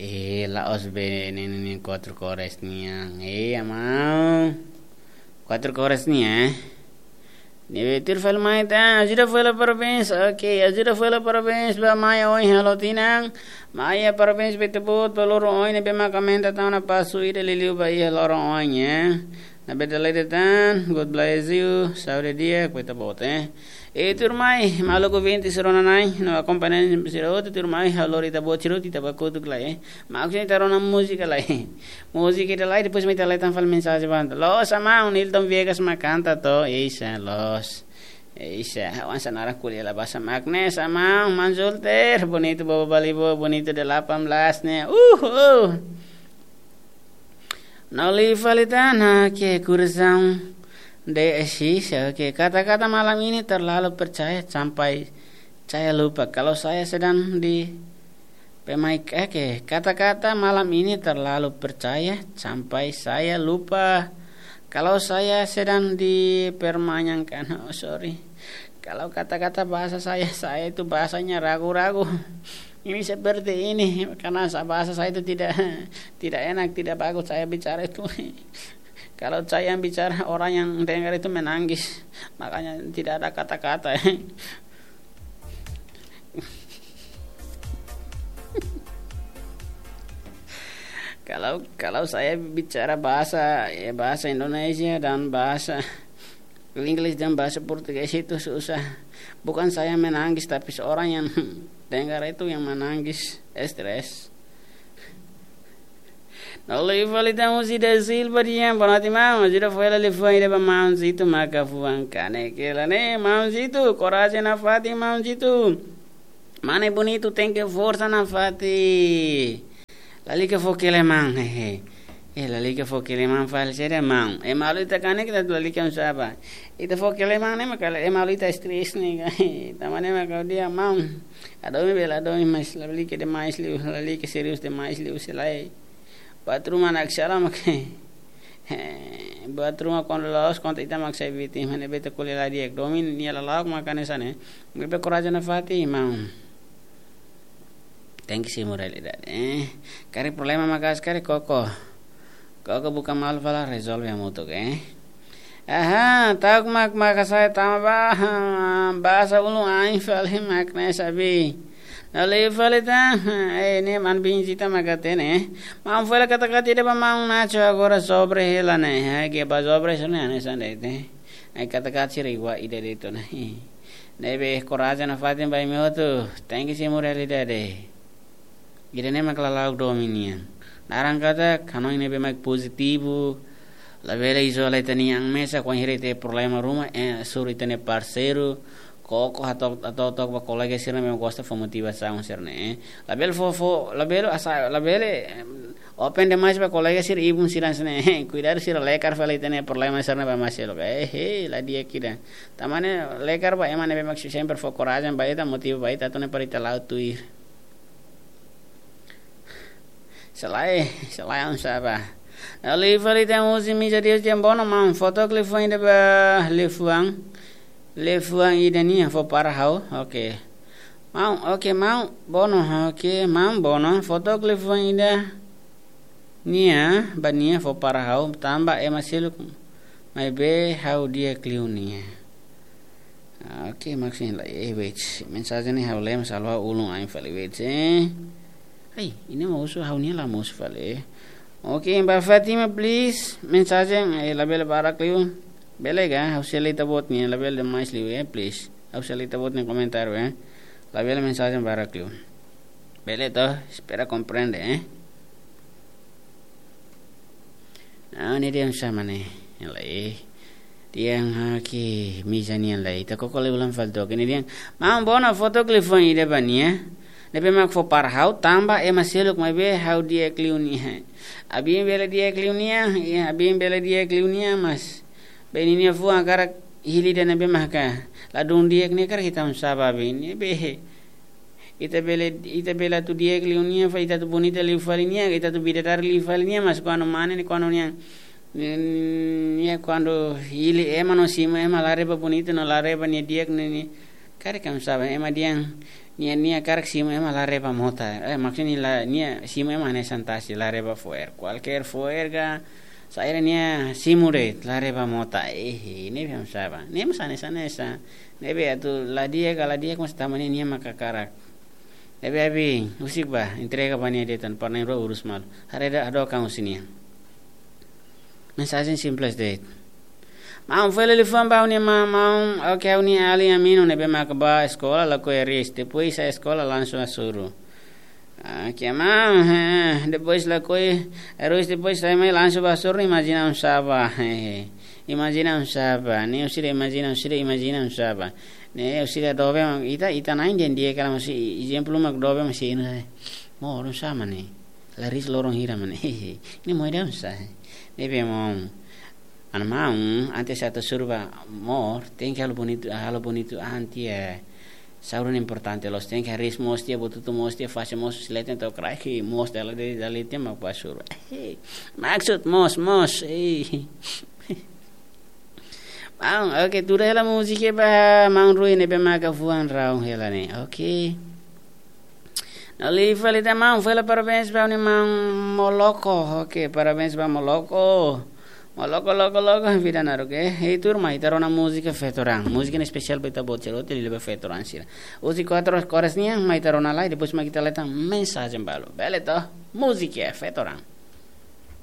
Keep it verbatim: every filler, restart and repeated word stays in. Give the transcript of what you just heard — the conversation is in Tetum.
Eh, la'ós be ne'e, ne'e, ne'e, kuatru kores nian. Eh, amau. Kuatru kores nian, eh. Ne'ebé tuir fali mai tan, ajuda fó hela parabéns. Ok, ajuda fó hela parabéns ba Maia oin halo tinan. Maia, parabéns ba ita-boot, ba loron oin ne'ebé mak aumenta tan ona pasu ida liuliu ba iha loron oin, eh. Ne'ebé dala ida tan, God bless you, saúde di'ak ba ita-boot, eh. E tuirmai, maluk ouvinte sira-nia na'in, no akompañante sira hotu tuirmai, ha'u lori ita-boot sira hotu ita bá kotuk lai, eh. Mak sini ita rona múzika lai. Múzika ida lai, depois mai ita lai tan fali mensajen ba. Loos, amau, Nilton Viegas mak kanta to, isa, loos. Isa, ha'u hanesan naran ko'alia la basa mak ne'e, amau, Manzulter, bonito bobo balibo, bonito delapan belas ne'e. Uh, uh. No liu fali tan, oke, kurasaun de esisa, oke. Kata-kata malam ini terlalu percaya sampai saya lupa kalau saya sedang di pemaik, oke. Kata-kata malam ini terlalu percaya sampai saya lupa kalau saya sedang dipermainkan. Oh, sorry. Kalau kata-kata bahasa saya, saya itu bahasanya ragu-ragu. Ini seperti ini, karena sa-, bahasa saya itu tidak, tidak enak, tidak bagus saya bicara itu. Kalau saya yang bicara, orang yang dengar itu menangis. Makanya tidak ada kata-kata. Kalau, kalau saya bicara bahasa, ya, bahasa Indonesia dan bahasa Inggris dan bahasa Portugis itu susah. Bukan saya menangis, tapi seorang yang dengar itu yang menangis, stres. No liu fali tan husi Dezil Badian, boa noite, maun. Ajuda fó hela liafuan ida ba maun Zito maka fuan kanek hela ne'e, maun Zito. Korajen nafatin, maun Zito. Mane bonito, tenke forsa nafatin. Lalika fó keleman, hehe. Eh, lalika fó keleman fali sede maun. Eh, malu ita kanek ita lalika oinsá bá. Ita fó keleman ne'e mak ema ita stres ne'e ka. Tanba ne'e mak ha'u dehan maun. Hadomi bele hadomi, mas lalika demais liu, lalika serius demais liu, se lae. Buat ruma naksalam ke. Eh, buat ruma kuandu la'ós kontra ita mak sai vítima, ne'ebé ita ko'alia la di'ak. Domin nia lala'ok mak hanesan ne'e. Ne'ebé korajen nafatin, maun. Tenke simu realidade, eh. Karik problema maka'as karik koko. Koko buka malu fali rezolve hamutuk, eh. Aha, ta'uk mak, maka sai tama ba, bahasa ulun ain fali mak ne'e sabi. No liu fali tan, eh, ne'e maun Bin Zita mak hatene, eh. Maun fó hela kata-kata ida ba maun Nacho agora sobre hela ne'e, eh, ke ba sobre sira-ne'e hanesan de'it, eh. Ai kata-kata sira igual ida de'it ona, eh. Ne'ebé korajen nafatin ba imi hotu, tenke simu realidade. Ida-ne'e mak lala'ok domin nian. Naran katak hanoin ne'ebé mak pozitivu. Labele izola ita-nia an mesak, wainhira iha problema ruma, eh, suru ita-nia parseiru. Koko hato'o, hato'o took ba kolega sira ne'ebé gosta fó motivasaun sira-ne'e, eh. Labele fó, fó, labele asa, labele, em, open demais ba kolega sira, ibun sira hanesan ne'e, eh. Kuidadu sira lekar fali ita-nia problema sira-ne'e ba ema seluk. Eh, eh, la di'ak ida. Tanba ne'e lekar ba ema ne'ebé mak sempre fó korajen ba ita, motiva ba ita, atu nune'e para ita la'o tuir. Se lae, se lae oinsá bá. Liu fali tan husi Mija Dios Jambono, maun, fó took liafuan ida ba, liafuan, liafuan ida nian fó para ha'u, oke. Maun, oke, maun Bono, oke, maun Bono, fó took liafuan ida nian ba nia fó para ha'u, tanba ema seluk maibé ha'u di'ak liu nia. Ah, oke, mak sini lai, eh, wait. Mensajen ne'e ha'u lee, mas ha'u ulun ain fali, wait, eh. Ai, ida-ne'e mak husu ha'u-nian la mosu fali, eh. Oke, ba Fatima, please. Mensajen, eh, labele barak liu. Bele ka, ha'u sei lee ita-boot nia, labele demais liu, eh, please. Ha'u sei lee ita-boot nia komentáriu, eh. Labele mensajen barak liu. Bele to, espera komprende, eh. Ah, ne'e dehan sama ne'e. Ne'e lai. Dehan, ah, ke Mija nian lai. Ita koko lai ulang fali took. Ne'e dehan, maun Bono, fó took liafuan ida ba nia. Ne'ebé mak fó para ha'u, tanba ema seluk maibé ha'u di'ak liu nia. Abin bele di'ak liu nia, ya, abin bele di'ak liu nia, mas be ninia fuan hakarak hili ida ne'ebé maka ladún di'ak ne'e, karik ita oinsá bá, abin ne'ebé. Ita bele, ita bele atu di'ak liu nia, fali ita atu bonita liu fali nia, ita atu bidadari liu fali nia, mas kuandu mane ne'e, kuandu nia, nia kuandu hili ema no simu ema, la haree ba bonita no la haree ba nia di'ak ne'e, nia karik oinsá bá, ema dehan Nia, nia hakarak simu ema la haree ba mota. Eh, maksudnya la, nia simu ema hanesan tasi la haree ba fo'er. Kualkér fo'er ka, saida nia simu de'it la haree ba mota. Eh, ne'ebé hanesan ba. Ne'e mós hanesan hanesan. Ne'ebé atu la di'ak ka la di'ak mós tanba nia, nia mak hakarak. Ne'ebé abi, husik ba, entrega ba nia de'it tan, para nia rua urus malu. Haree ida hadook an husi nia. Mensajen simples de'it. Maun, fó hela liafuan ba ha'u-nia maun, maun, oke, ha'u-nia alin Amino ne'ebé maka bá eskola lakohi Aruis, depois sai eskola langsung Asoro. Oke, maun, eh, depois lakohi Aruis, depois sai mai langsung ba Asoro, imajina oinsá ba, eh, imajina oinsá ba, ne'e orsida imajina, orsida imajina oinsá ba. Ne'e orsida doben, ita, ita na'in dehan di'ak hela maibé ezemplu mak doben maibé inu, eh, moru oinsá mak ne'e. Laris loron hira mak ne'e. Ne'e moe ida oinsá. Ne'ebé maun. Ana maun, antes atu Asoro bá mo'or, tenke halo bonitu, halo bonitu an tiha. Saúde ne'e importante loos, tenke hariis moos tiha, buat hotu moos tiha, fase moos, husi leten to'o kraik, moos dala ida, dala ida tiha mak bá Asoro. Maksud moos, moos. Maun, oke, tuur hela múzika ba maun Rui ne'ebé maka fuan raun hela ne'e. Oke. No liu fali tan maun, fó hela parabéns ba ha'u-nia maun Moloko. Oke, parabéns ba Moloko. Moloko, loko, loko, vida naruk, eh. Hei, turma, ita rona múzika Feto-raan. Múzika ne'e espesiál ba ita-boot sira hotu, liuliu ba feto-raan sira. Husi kuatru koras nian, mai ita rona lai, depois mai ita leten mensajen balu. Bele to? Múzika Feto-raan.